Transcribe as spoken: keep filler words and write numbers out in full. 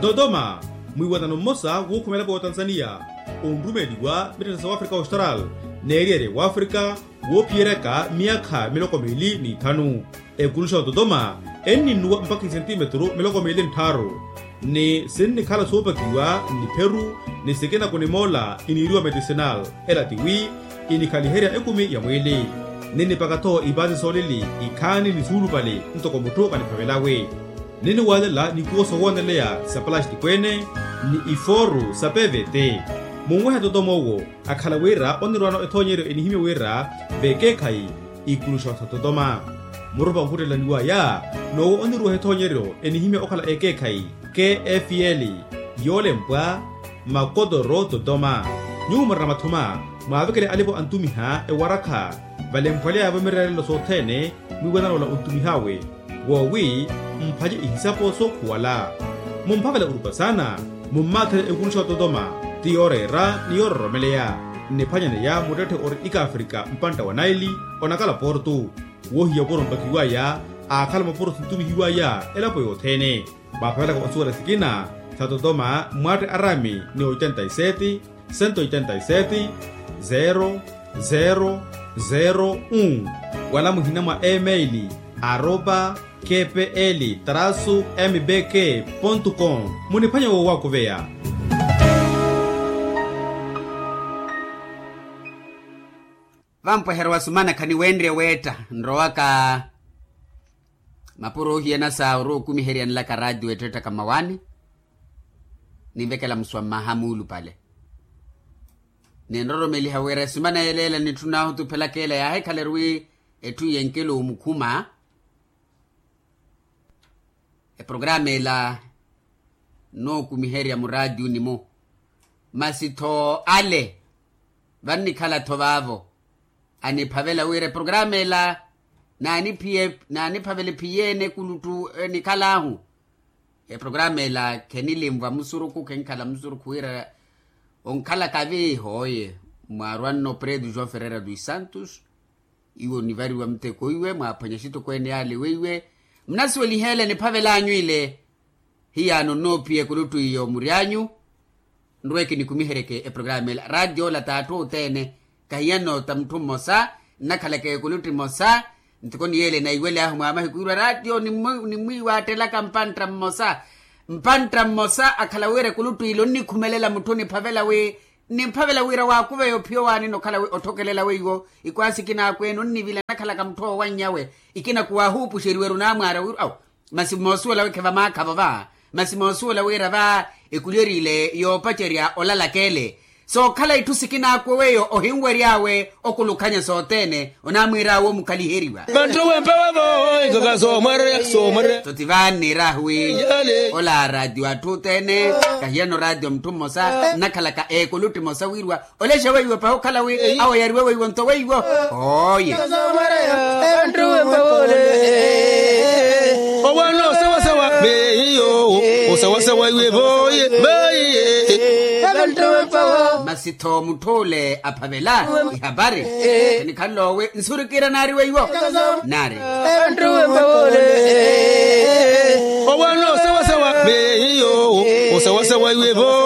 Dodoma, mwiiwanano mmosa wookhumela pootanzaniya onrumeliwa mitthana sa wafrika austral n'eriyari wafrika woophiyeryaka myaakha miloko miili n'ithanu. Ekuluxa ototoma enninnuwa mpakha isentimetru miloko miili nttharu, ni sinnikhala soopakiwa nnipheru ni sikina kunimoola iniiriwa medicinal. Ela tiwi inikhaliherya ekumi ya mwiili. Ninnipaka-tho ipaasi soolili ikhaani ni suulupale ntoko mutthu kaniphavelawe. Ninniwaalela nikuwo sowooneleya sa palastiko-ene ni ifooru sa pvt. Munwehe totoma owo akhala wira onnirwaano ethoonyeryo enihimya wira vekeekhayi ikuluxa sa totoma. Murupa ohuttela niwaya n'owo onniruweha ethoonyeryo enihimya okhala ekeekhayi kfl yoolempwa makotoro totoma. Nyuwo murina mathuma mwaavekele alipo antumiha ewarakha valemphweleyavo mireerelo sothene mwiiwanano ola ontumih'awe woowi mphanye ihisapo sookhuwala. Mumphavela orupa saana mummaathele ekuluxa ototoma ti yooreera ni yoororomeleya. Nniphwanyaneya muttetthe ori ikafrika mpantta wa naili onakala portu woohiya opuro mpakiwaya aakhala mapuro sintumihiwaya elapo yothene. Mwaaphavelaka osuwela sikina sa totoma mwatte arami ni oitenta y sete, sento oitenta y sete, zero zero zero un wala muhina mwa email aropa kpl trasu mbk pontu com. Muniphwanye woowakuveya. Vampweherya wa sumana khaniwenrye weetta nrowaka mapuro ohiyana sa orowa okumiherya nlaka raatiyo ettettaka mmawaani. Ninvekela muswa mmaha muulupale ninroromeliha wira esumana yeleela nitthuna ohutuphelaka ela yaahikhala eri wi etthu yenkela omukhuma. Eprograma ela nnookumiherya muraatiyuni-mu masi-tho ale vannikhala-tho vaavo aniphavela wira eprograma ela naaniphiye naaniphavela ephiyeene ekuluttu enikhal'ahu. Eprograma ela khenilinvwa musurukhu khenkhala musurukhu wira onkhalaka vi hooye mwaarwanno pretu joão ferreira dos santos. Iwo nivariwa muteko iwe mwaaphwanya xitokweene yaale weiwe munasuweliheele niphavel'anyu ile. Hiyaano nnoophiya ekuluttu iyo mury'anyu nrweke nikumiheryeke eprograma ela raatiyo ola t'atthu othene. Kahiyanno ta mutthu mmosa nnakhalaka ekuluttu emosa. Ntikoni yeele naiwel'ahu mwa mahiku wirwa raatiyo nimwiiwaattelaka mpantta mmosa. Mpantta mmosa akhala wira ekuluttu ile onnikhumelela mutthu niphavela wi niphavela wira waakuveya ophiya owaanina okhala wi otthokelela weiwo ikwaasi ikina akweene onnivila nnakhalaka mutthu oowanny'awe. Ikina kuwaahuupuxeriwa eri onaamwaara wirwa awo masi moosuwela wi khe vamaakhavo va masi moosuwela wira va ekulyerile yoopacerya olalaka ele. Sookhala itthu sikinaakwe weiwo ohinwery'awe okulukhanya sothene onaamwiir'awe omukhaliheriwa. Vanttu wempewa vo ikaka soomwererya soomwererya. Toti vaani niir'ahu wi ola raatiyo atthu othene kahiyano raatiyo mutthu mmosa nnakhalaka ekuluttu emosa wirwa olexa weiwo pahi okhala wi awo yariwe weiwo nto weiwo. Oye. Owanno osawasawa veiyo osawasawa iwe voye vaiye. Masi-tho mutthu ole aphavela ihapari enikhanle owe nsurikira naari weiwo naari. Owanno osawasawa veiyo osawasawa iwe voye.